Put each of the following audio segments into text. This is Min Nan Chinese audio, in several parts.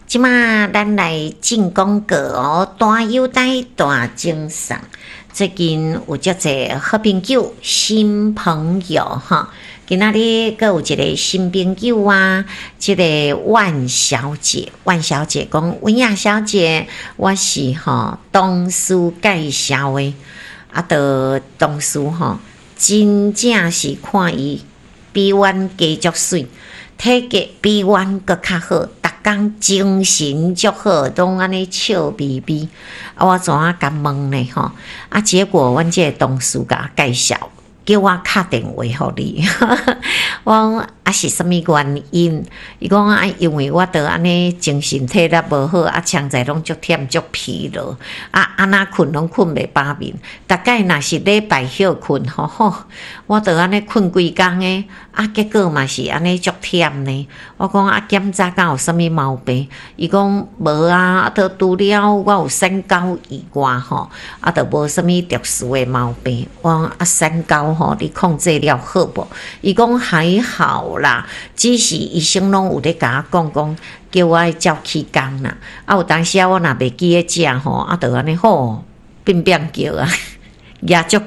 這馬咱來進廣告哦，大優待大贈送。最近有足濟好朋友、新朋友哈，今仔日閣有一個新朋友啊，這個萬小姐，萬小姐講，文雅小姐，我是吼同事介紹的，啊，著同事吼，真正是看伊比阮加足媠，體格比阮閣較好，逐工精神足好，攏按呢笑眯眯。啊，我怎啊共問呢？吼，啊，結果阮這個同事共我介紹，叫我敲電話予你。我講啊是啥物原因？伊講啊，因為我著按呢精神體力無好，啊，常在攏足忝足疲勞，啊，按怎睏攏睏袂飽眠。逐擺若是禮拜歇睏吼吼，我著按呢睏規工的，啊，結果嘛是按呢足忝呢。我講啊，檢查敢有啥物毛病？伊講無啊，啊，著除了我有三高以外吼，啊，著無啥物特殊的毛病。我講啊，三高吼，你控制了好無？伊講還好啦，只是醫生攏有咧共我講講，叫我愛照起工啦。啊，有當時啊，我若袂記得食吼，啊，著按呢吼變變叫啊，壓足懸。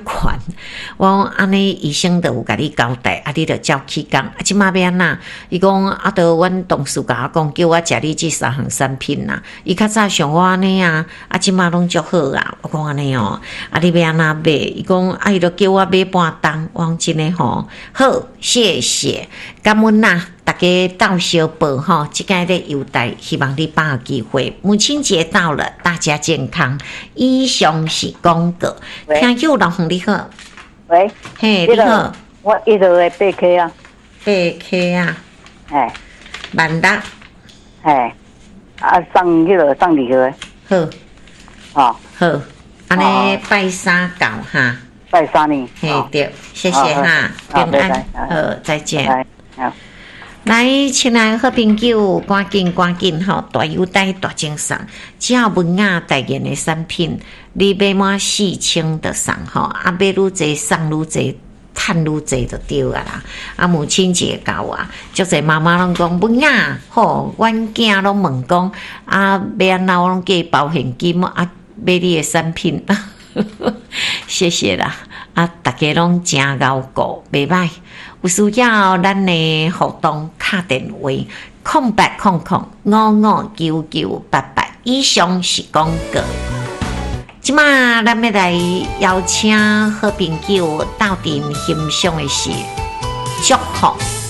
我講按呢，醫生著有共你交代，啊，你著照起工。啊，這馬欲按怎？伊講啊，著阮同事共我講，叫我食你這三項產品啦。伊較早像我按呢啊，啊，這馬攏足好啊。我講按呢哦，啊，你欲按怎買？伊講啊，伊著叫我買半擔。我講真的吼，好，謝謝，感恩啦，大家鬥相報吼，這個咧優待，希望你把握機會。母親節到了，大家健康。以上是廣告。聽友老洪你好，喂，嘿，你好，我一號的八溪啊，八溪啊，嘿，萬達，嘿，啊送彼個送禮盒，好，哦，好，按呢拜三到哈，拜三呢，嘿對，謝謝哈，平安，好，再見。好，來，親愛好朋友，趕緊趕緊吼，大優待大贈送，只要文雅代言的產品，你買滿4000就送吼，啊買愈濟送愈濟，趁愈濟就對啊啦。啊母親節到啊，足濟媽媽攏講文雅吼，阮囝攏問講啊，欲按怎我攏叫伊包現金啊，買你的產品，謝謝啦。啊，大家攏誠𠢕顧，袂䆀。有需要咱的活動，敲電話0800559988。以上是廣告。這馬咱欲來邀請好朋友鬥陣欣賞的是祝福。